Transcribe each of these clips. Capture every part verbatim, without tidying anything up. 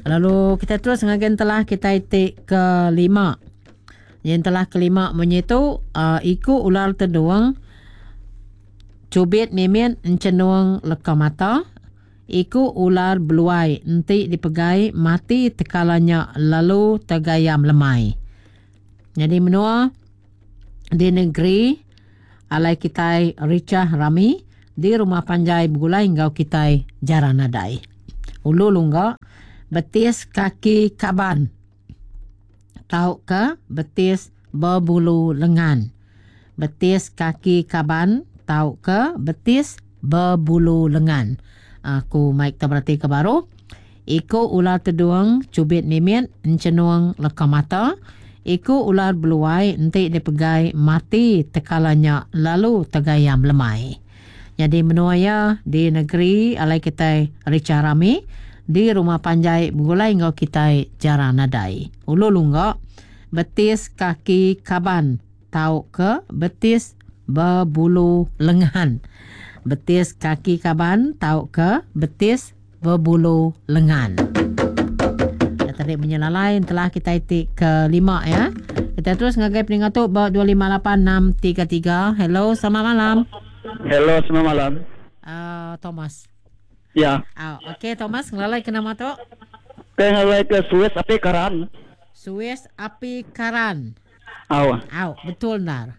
Lalu kita terus ngagen telah kita ti kelima. Yang telah kelima munyi tu uh, iku ular tedung cubit mimit encenung leka mata. Iku ular beluai enti dipegai mati tekalanya lalu tegayam lemai. Jadi menua di negeri alai kitai ricah rami di rumah panjai begulai enggau kitai jarang nadai. Ulu lungga betis kaki kaban tauka betis berbulu lengan. Betis kaki kaban tauka betis berbulu lengan. Aku mic tak berarti ke baru. Iku ular tedung cubit mimit encenung leka mata. Iku ular beluai enti dipegai mati tekalanya lalu tegayam lemai. Jadi menua ya di negeri alai kitai ricah rami di rumah panjai begulai enggau kitai jarang nadai. Ulu lungga betis kaki kaban tauka betis berbulu lengan. Betis kaki kaban tauka betis berbulu lengan. Tadi menyelalai telah kita ti kelima ya. Kita terus ngagai peningat tu ba dua lima lapan enam tiga tiga. Hello, selamat malam. Hello, selamat malam. Uh, Thomas. Ya. Oh, okey Thomas, ngelalai ke nama tu? Ngelalai ke Suis Api Karan. Suis Api Karan. Aw. Aw, betul nar.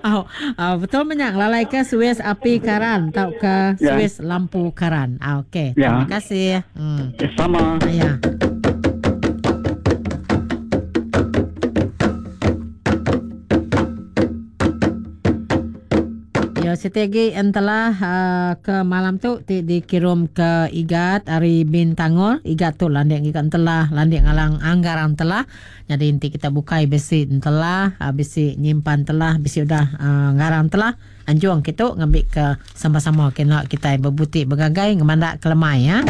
Oh, oh, betul banyak lalai ke Suis Api Karan tau ke Ya. Suis Lampu Karan. Ah, okey. Ya. Terima kasih. Hmm. Ya, sama. Ya. Ya, strategi entelah uh, ke malam tu ti dikirim ke Igat hari Bintangor. Igat tu landik igat entelah, landik ngalang anggaran telah. Jadi inti kita bukai besi entelah, uh, besi nyimpan telah, besi udah uh, ngarang telah. Anjuang kita ngambil ke sama-sama kena kita berbutik bergagai ngemandak kelemai ya.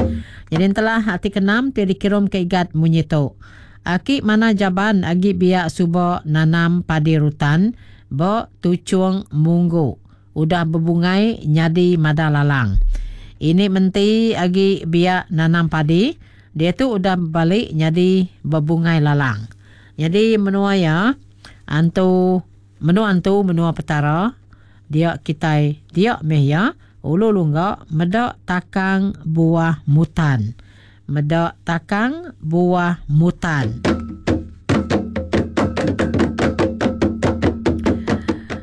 Jadi entelah hati keenam ti dikirim ke Igat munyi tu. Aki mana jaban agi biak subo nanam padi rutan bo tucung munggu. Udah berbungai nyadi mada lalang. Ini menti agi biak nanam padi, dia tu udah balik nyadi berbungai lalang. Jadi menua ya, antu menua antu menua petara, dia kitai dia meh ya, ulu lungga medak takang buah mutan. Medak takang buah mutan.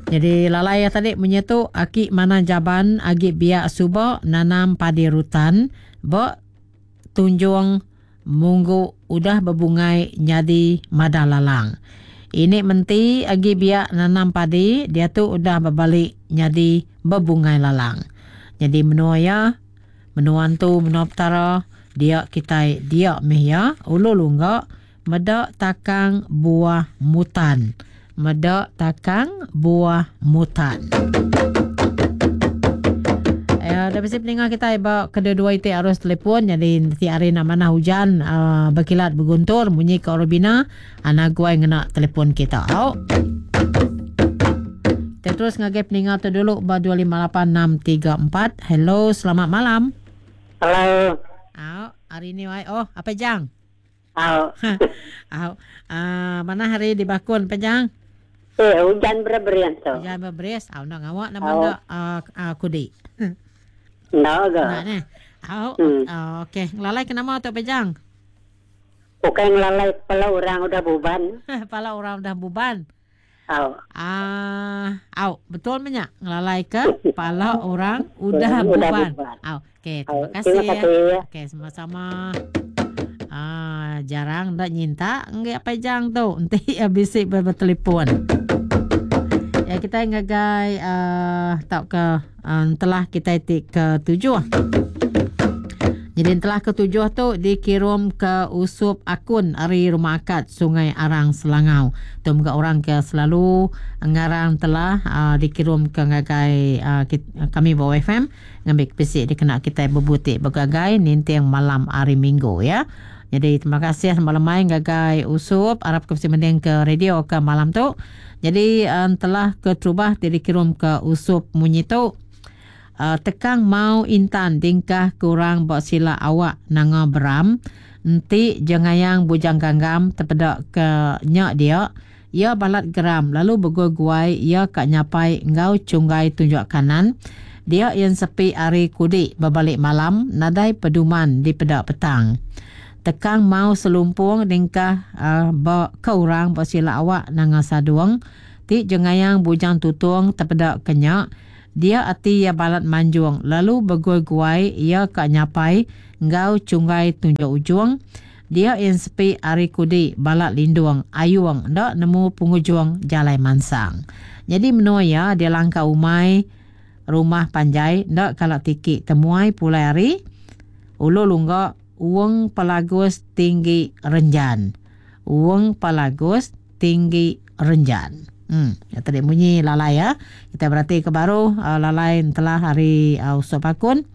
Jadi lalai tadi menyetu aki mana jaban agi biak subo nanam padi rutan bo tunjung munggu udah berbungai nyadi mada lalang. Ini menti agi biak nanam padi dia tu udah berbalik nyadi berbungai lalang. Jadi menua ya menua tu menua petara dia kitai dia meh ya ulu lungga medak takang buah mutan. Medak takang buah mutan. Ya, dah mesti pendengar kita iba kedua-dua itu arus telefon. Jadi nanti hari nak mana hujan uh, berkilat berguntur bunyi ke Orobina anak gua yang kena telefon kita. Oh. Kita terus ngagai pendengar tu dulu ba dua lima lapan enam tiga empat. Hello, selamat malam. Hello. Oh, hari ni wai. Oh, apa jang? Oh. Oh, uh, mana hari di Bakun pejang? Eh, hujan berberian tu. Hujan berberis. Oh, nak ngawak nama Oh. dak uh, uh, kudi. Nak ke? Nak ni. Oh, Hmm. oh, okey. Ngelalai ke nama tu pejang? Bukan ngelalai kepala orang udah buban. Kepala orang udah buban. Oh. Ah, au, betul banyak ngelalai ke kepala orang udah Udah buban. buban. Au, okey, terima Oh, kasih. terima kasih. Okey, sama-sama. Ah, jarang dak nyinta nggak pejang tu. Nanti habis bertelefon. Ya, kita ngagai uh, tak ke uh, telah kita tik ke tujuh. Jadi telah ke tujuh tu dikirim ke Usup Akun ari Rumah Akad Sungai Arang Selangau. Tu muka orang ke selalu ngarang telah uh, dikirim ke ngagai uh, kit, kami bawa F M ngambil pesik dikena kita berbutik bergagai ninting malam hari Minggu ya. Jadi terima kasih malam main gagai Usup harap ke mending ke radio ke malam tu. Jadi um, telah keterubah dikirim ke Usup munyi tu. Uh, tekang mau intan dingkah kurang ba sila awak nanga beram. Enti jengayang bujang ganggam terpedak ke nyak dia, ia balat geram lalu berguai-guai ia kak nyapai enggau cunggai tunjuk kanan. Dia yang sepi hari kudik berbalik malam nadai peduman di pedak petang. Tekang mau selumpung dingkah uh, ba ke orang ba sila awak nanga saduang. Ti jengayang bujang tutung terpedak kenyak. Dia ati ia balat manjung lalu berguai-guai ia kak nyapai enggau cunggai tunjuk ujung. Dia yang sepi hari kudik balat lindung ayung ndak nemu pengujung jalai mansang. Jadi menua ia dia langkah umai rumah panjai ndak kalak tiki temuai pulai hari ulu lunggak uang pelagus tinggi renjan. Uang pelagus tinggi renjan. Hmm, ya tadi bunyi lalai ya. Kita berarti ke baru uh, lalai telah hari uh, usop akun.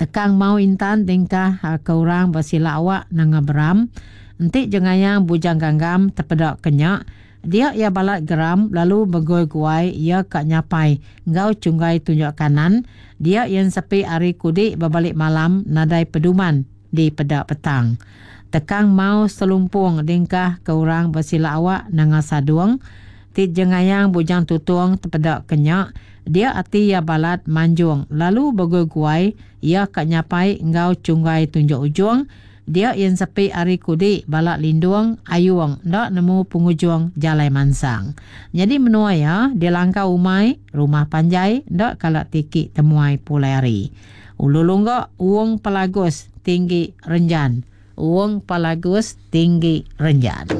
Tekang mau intan tingkah uh, ke orang bersila awak nanga beram. Entik jengayang bujang ganggam terpedak kenyak. Dia ia balat geram lalu bergoi-guai ia kak nyapai enggau cunggai tunjuk kanan. Dia yang sepi hari kudik berbalik malam nadai peduman di pedak petang. Tekang mau selumpung dingkah ke orang bersila awak nanga saduang. Tit jengayang bujang tutung terpedak kenyak. Dia ati ia balat manjung lalu bergoi-guai ia kak nyapai enggau cunggai tunjuk ujung. Dia yang sepi hari kudik balak lindung ayung ndak nemu pengujung jalai mansang. Jadi menua ya dia langkah umai rumah panjai ndak kalak tiki temuai pulai hari. Ulu lunggak uang pelagus tinggi renjan. Uang pelagus tinggi renjan.